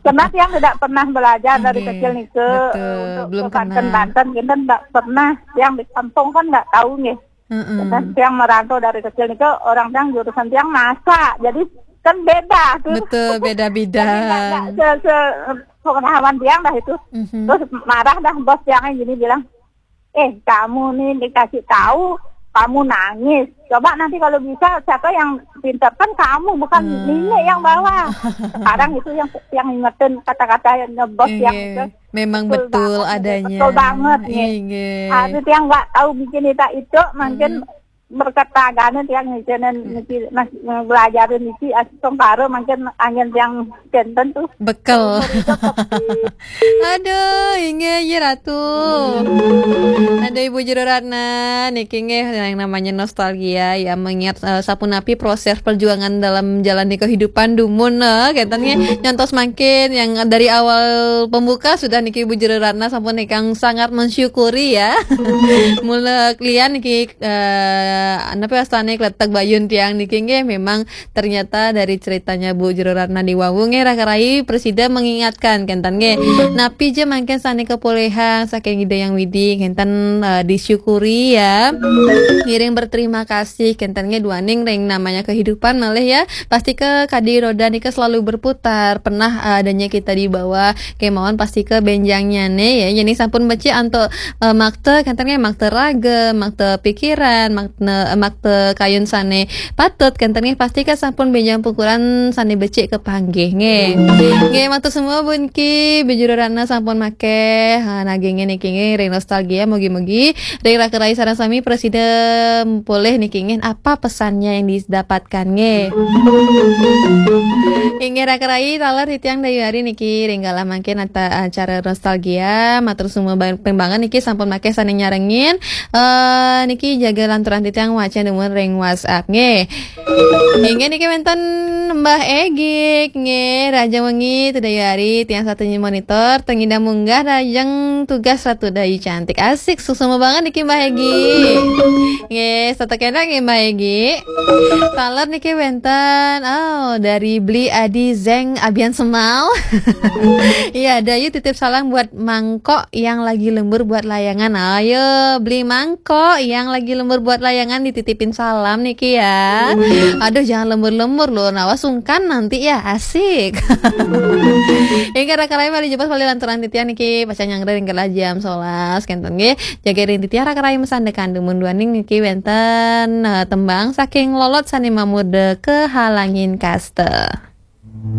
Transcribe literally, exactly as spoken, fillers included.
Karena tiang tidak pernah belajar dari kecil nih ke, betul, untuk belum ke Banten, kenal. Banten kita tidak pernah. Yang di kampung kan tidak tahu nih. Dan tiang merantau dari kecil nih ke orang tiang jurusan tiang masak. Jadi kan beda tuh. Betul, beda-beda. Jadi nggak, nggak se, se, pengetahuan tiang dah itu. Terus marah dah bos tiangnya gini bilang, "Eh, kamu nih dikasih tahu, kamu nangis. Coba nanti kalau bisa siapa yang pinter kan kamu, bukan nenek yang bawa." Sekarang itu yang yang ingetin kata-kata yang bos yang itu. Memang betul adanya. Betul banget nih. Inggih. Habis yang nggak tahu bikin itu itu mungkin berkat tagane tiang ngicenen niki mas belajarin niki asung karo mungkin angin tiang jantan tuh. Bekel. Aduh, inggih, inggih, Ratu. Ada Ibu Jero Ratna, niki nggih yang namanya nostalgia ya, mengingat eh, sapunapi proses perjuangan dalam jalani kehidupan dumun eh, kenten nggih, nyantos mangkin yang dari awal pembuka sudah niki Ibu Jero Ratna sampun ingkang sangat mensyukuri ya. Mula klian niki eh, napa wastane kletek bayun tiang niki nggih memang ternyata dari ceritanya Bu Jero Ratna di wau nggih Raka Rai presida mengingatkan kenten nggih. Napi je mangkin sane kepolihang saking Ida Yang Widi kenten eh, disyukuri ya. Ngiring berterima kasih kenten nggih duaning ring namanya kehidupan malih ya. Pasti ke kadi roda nika selalu berputar. Pernah eh, adanya kita di bawah kemauan pasti ke benjangnya nih ya. Jadi sampun becik antuk eh, makta kenten nggih makta raga, makta pikiran, makta makta kayun sane patut kenten nggih pasti ke sampun benjang pukulan sane becik kepanggih nggih. Nggih matur semua bunki bejuru rana sampun makeh ha, nagingnya niki nggih ring nostalgia mugi-mugi ring raka rai sareng sami presida polih niki nggih apa pesannya yang didapatkan nggih. Inggih raka rai taler titiang dayu hari niki ring galah mangkin ata acara nostalgia matur semua pembangan niki sampun makeh sane nyarengin eh niki jaga lanturan titiang wacan dumun ring WhatsApp nggih. Inggih niki wenten Mbah Egik nggih Raja Wengi Tudayu Ari tiang satunya monitor tengidang munggah rajeng tugas Ratu Dayu cantik asik suksma banget niki Mbah Egik. Nggih, satu kena nggih Mbah Egik. Taler niki wenten oh dari Beli Adi Zeng Abian Semal. Iya, Dayu titip salam buat mangkok yang lagi lembur buat layangan. Ayo, beli mangkok yang lagi lembur buat layangan dititipin salam niki ya. Aduh, jangan lembur-lembur loh. Nawa sungkan nanti ya, asik. Inggih raka rai mari jumpa kembali lanturan titiang niki pacan nyanggra ring jam sebelas kenten nggih. Jaga ring titiang raka rai mesandekan dumun duaning niki wenten eh, tembang saking Lolot sane mamurda Kehalangin Kaste.